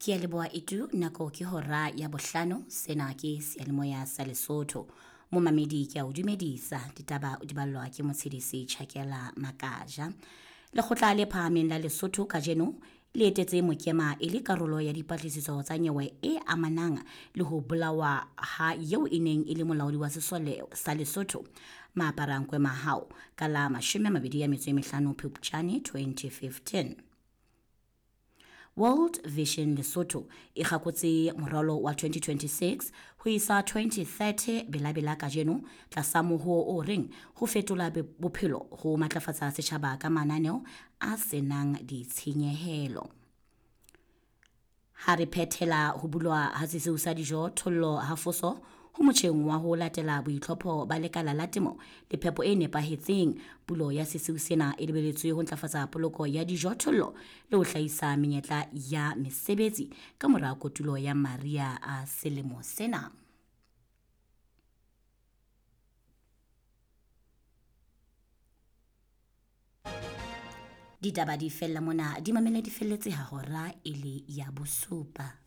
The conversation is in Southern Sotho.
Ke a leboha Itu, nako ke hora ya bohlano, sena ke seyalemoya sa Lesotho. Momamedi ke a o dumedisa, ditaba di ballwa ke Motshedisi Chakela Makaja. Lekgotla le phahameng la Lesotho kajeno le etetse Mokema e le karolo ya dipatlisiso tsa nyewe e amanang le ho bolawa ha eo e neng e le molaodi wa sesole sa Lesotho Maaparankoe Mahao ka la 25 Phupjane 2015. World Vision Lesotho e kgakotse moralo wa 2026 ho isa 2030 belabela kajeno tlasa mohoo o reng ho fetola bophelo ho matlafatsa setjhaba ka mananeo a senang ditshenyehelo. Ha re phethela ho bulwa ha sesiu sa dijo thollo ha foso ho motjheng wa ho latela boitlhopho ba lekala la temo le phepo e nepahetseng. Pulo ya sesiu sena e lebeletswe ho ntlafatsa poloko ya dijothollo le ho hlahisa menyetla ya mesebetsi ka mora kotulo ya mariha a selemo sena. Ditaba di fella mona, di mamele di felletse ha hora e le ya bosupa.